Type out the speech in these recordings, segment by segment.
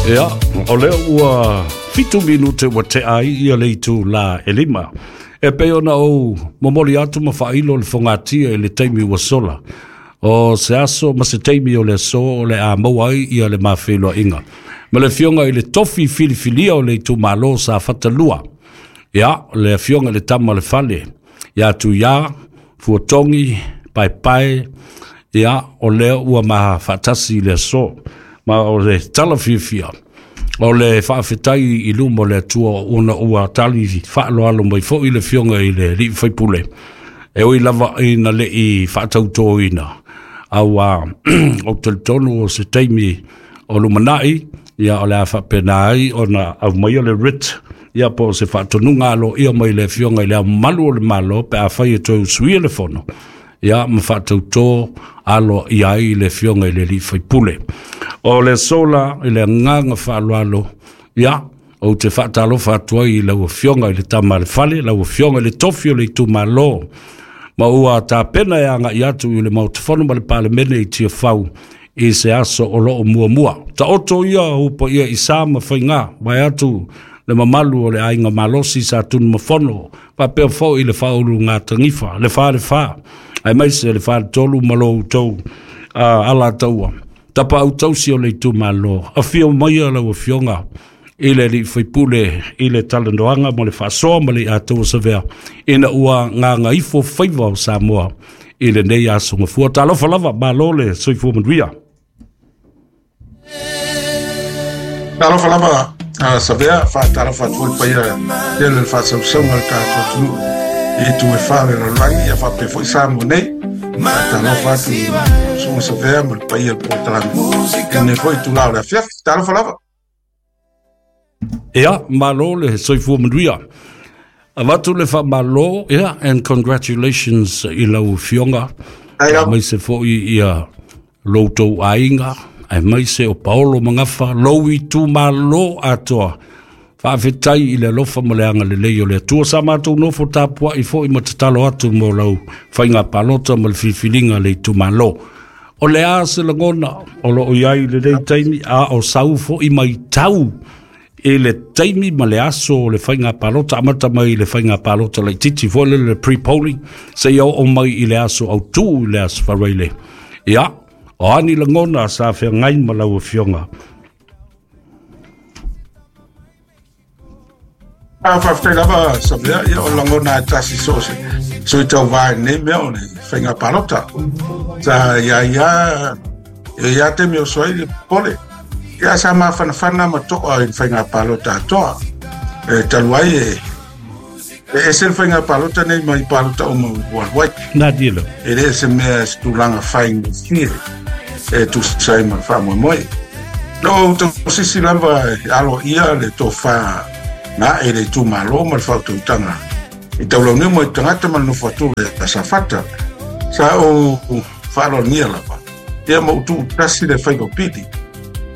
Ia, o lea ua 7 minute ua tea ai ia le itulā e 5. E pei ona ou momoli atu ma faailo le fogatia i le taimi ua sola. O se aso ma se taimi o le aso o le a maua ai ia le mafeiloaiga ma le afioga i le tofi filifilia o le itumalo Safata 2. Ia, le afioga i le Tama o le Fale, ia Tuiā, Fuatogi, Paepae, ia, o lea ua ma faatasi i le aso. Ma o le tala fiafia, o le faafetai i luma o le Atua ona ua tali faaaloalo mai foi le afioga i le alii faipule, e ui lava ina le i faatautoina, a ua ou talitonu o se taimi o lumanai, ia o le a faapena ai ona aumaia le writ, ia po o se faatonuga aloaia mai le afioga i le Ao Mamalu o le Malo pe afai e toe usuia le fono, ia ma faatautō aloaia ai le afioga i le alii faipule. O le aso la i le agaga faaaloalo, ia, ou te faatalofa atu ai i lau afioga i le Tama a le Fale, lau afioga i le tofi o le itumalo, ma ua tapena e agai atu i le Maota Fono ma le Palemene i Tiafau i se aso o loo muamua. Taoto ia ou paia i sa ma faiga, vae atu le mamalu o le aiga malosi sa Tunumafono, faapea foi le faaulugatanifa, le falefa, aemaise le faletolu ma lo outou alataua. Tapaau tausi o le itumalo, afio maia lau afioga i le alii faipule i le talanoaga mo le faasoa ma le Atoa Savea ina ua gagaifo faiva o Samoa i lenei aso gafua. Talofa lava, malo le soifua manuia. Talofa lava Savea, faatalofa atu foi le paia tele o le faasausauga o le tatou atunuu i itu e fa o le lalolagi, ia faapea foi Samoa nei. Faatalofa atu i Susuga Savea ma le paia o le polokalame i lenei foi itula o le afiafi. Talofa lava. Ia, malo le soifua manuia. Avatu le faamalo, yeah, and congratulations i lau afioga. Aemaise foi ia lo outou aiga, aemaise o Paolo Magafa, lou itumalo atoa. Faafetai i le alofa ma le agalelei o le Atua. Sa matou nofo tapuai foi ma tatalo atu mo lau faiga palota ma le filifiliga a le itumalo. O le a se lagona o loo i ai i lenei taimi, a o sau foi maitau i le taimi ma le aso o le faiga palota, amata mai i le faiga palota laitiiti foi lele le pre-polling, seia oo mai i le aso autū i le aso Faraile. Ia, o a ni lagona sa feagai ma lau afioga? A faafetai lava Savea, ia o lagona e tasi so o se sui tauva i lenei mea o le faiga palota. Sa ia ia e ia taimi o oso ai le popole. Ia sa mafanafana ma to'a i le faiga palota atoa. E talu ai e e ese le faiga palota nei mai palota uma ua alu ai. Nā dilo. E le o se mea se tulaga faigofie e tusa ai ma le faamoemoe. Na ou tausisi lava e aloaia le tofa na ae i le itumalo ma le faautautaga i taulauniu mai tagata ma le nofo atu ia Safata. Sa ou faaaloalogia lava ia ma ou tuutasi le faiva pili.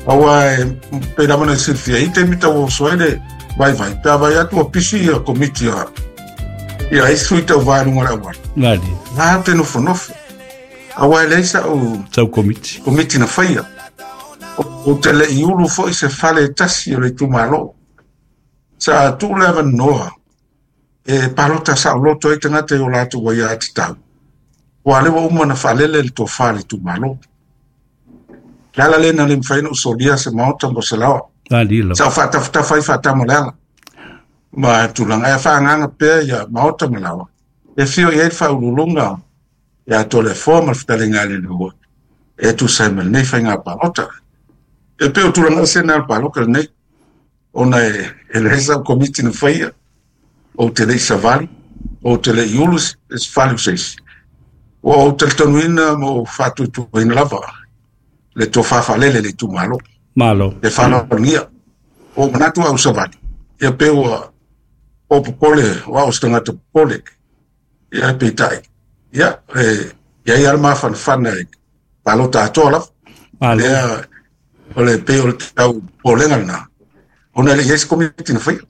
Aua e pei lava ona silafia i taimi tau oso ai le vaivai, pe a vaai atu ua pisi ia komiti a ia isi sui tauva i luga o le auala. Nani. Nā te nofonofo. Aua e leai sa'u Sau komiti. komiti na faia. Ou te le i ulu foi se fale e tasi o le itumalo. Sa tuu le avanoa e palota saoloto ai tagata i o latou aiatatau. Aua o lea ua uma ona faalele le tofa a le itumalo. Le ala lea na le mafai ona ou solia se maota mo se laoa. Nani lava. Sa ou faatafatafa ai faatama o le ala. Ma tulaga e faaagaaga pea ia maota ma laoa. E afio i ai le faauluuluga ia Toleafoa ma le fetalaiga a Leilehua e tusa ai ma lenei faiga palota. E pei o tulaga ese na o le palota lenei, ona e leai sau komiti na faia, ou te le i savali, ou te le i ulu se fale o se isi. Ua ou talitonuina ma ou faatuatuaina lava le tofa faalele i le itumalo. Malo. E faaaloalogia. Ua ou manatu au savali, ia pe ua o popole, o au o se tagata popole. Ia peitai, ia, e i ai lava le mafanafana i palota atoa lava. Malo. Lea, o le pei o le tau popolega lena, ona e le i ai se komiti na faia.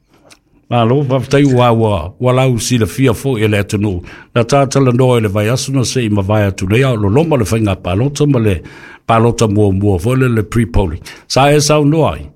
Malo, faafetai ua ua ua lau silafia foi e le atunuu. Na ta talanoa i le vaiaso na se i mavae atu nei, a o loloma le faiga palota ma le palota muamua foi le pre-polling. Sa e saunoa ai?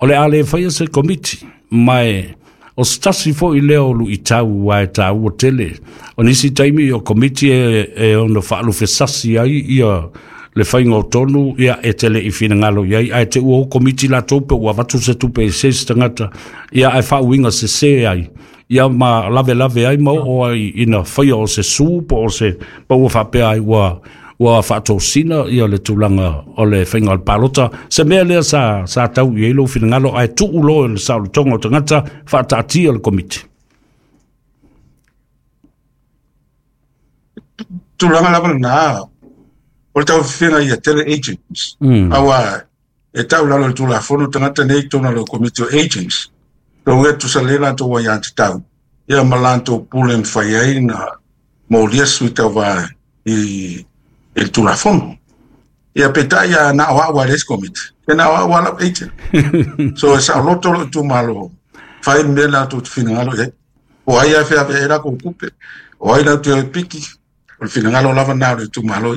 O le a le faia se komiti, ma e o se tasi fo'i lea o lu'itau ua e tāua tele. O nisi taimi o komiti e ono fa'alufesasi ai ia le faiga o tonu, ia e te le'i finagalo i ai, ae te ua o komiti latou pe ua avatu se tupe i se isi tagata, ia ae fa'auiga sesē ai, ia ma lavelave ai ma o'o ai ina faia o se sū po o se pa ua fa'apea ai ua fa'atosina ia le tulaga o le faiga o le palota. Se mea lea sa tau i ai lou finagalo ae tu'u loa i le saolotoga o tagata fa'ataatia le komiti. Tulaga lava lena o le tauafifiga ia tele agents. Aua e tau lalo le Tulafono tagata nei i totonu o le komiti o agents. Tou e tusa le latou aiatatau ia ma latou pule mafai ai na molia sui tauva i le Tulafono. Ia peitai a na o au a le isi komiti, e na o au a lau agent. So e saoloto lou itumalo, fai le mea latou te finagalo i ai. O ai a feaveai ai latou tupe, o ai latou te o e piki, o le finagalo lava na o le itumalo.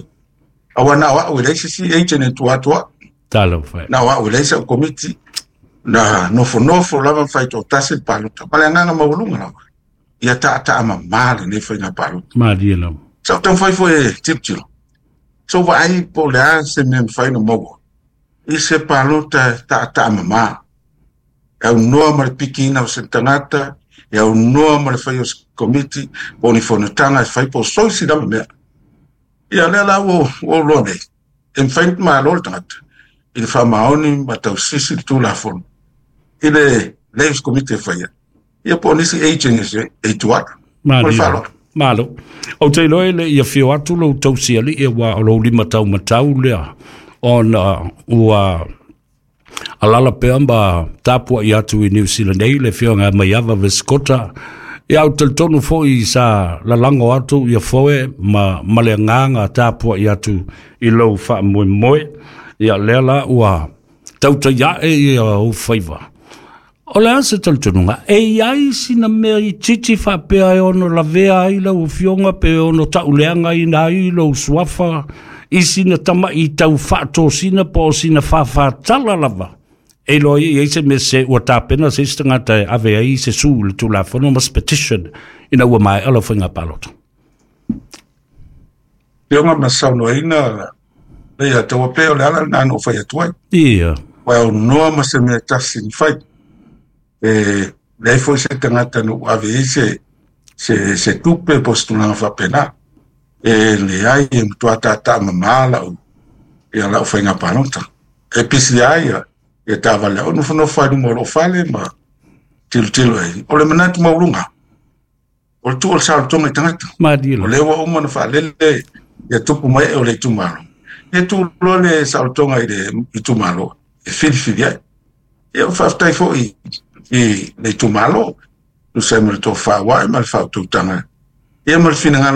Aua na o au e leai se isi agent e tua atu au. Talofa. Na o au e leai sau komiti, na nofonofo lava ma fai toatasi le palota. Ma le agaga maualuga lava, ia taataa mamā lenei faiga palota. Malie lava. Sa ou taumafai foi e tilotilo. Sa ou vaai po o le a se mea e mafai ona maua i se palota e taataa mamā. E aunoa ma le pikiina o se tagata, e aunoa ma le fai o se komiti, po o ni fonotaga e fai po o soisi lava mea. Ia lea la ua ou iloa nei, e mafai ona malo le tagata i le faamaoni ma tausisi le Tulafono i le leai o se komiti e faia, ia po o nisi agents e tua atu. Ma le faaaloalo. Malo. Ou te iloa e le i afio atu lou tausialii aua o lou lima taumatau lea ona ua alala pea ma tapua'i atu i Niu Sila nei le afioga ia Maiava Vesikota. Ia ou te talitonu fo'i sa lalago atu ia foe ma le agaga tapua'i atu i lou fa'amoemoe. Ia lea la ua tautai a'e ia ou faiva. O le a se talitonuga? E i ai sina mea itiiti faapea e ono lavea ai lau afioga pe ono ta'uleagaina ai lou suafa i sina tama'i tau fa'atosina po o sina fāfātala lava e iloa ai i ai se mea se ua tapena se isi tagata e ave ai se sū i le Tulafono ma se petition ina ua mae'a lau faiga palota? Afioga ma saunoaina le ia taua pea o le ala lena na ou fai atu ai. Ia. Ua aunoa ma se mea tasi na fai. E leai foi se tagata na ou ave ai se tupe po o se tulaga faapena. E leai, e matua taataa mamā lau ia lau faiga palota. E pisi lava ia taavale au nofonofo ai luma o lou fale ma tilotilo ai. O le manatu maualuga, o le tuu o le saolotoga i tagata. Malie O lea ua uma ona faalele ia tupu mai o le itumalo. Ia tuu loa le saolotoga i le itumalo e filifili ai. Ia faafetai foi i le itumalo, tusa ai ma le tofa ua ae ma le faautautaga. Ia ma le finagalo.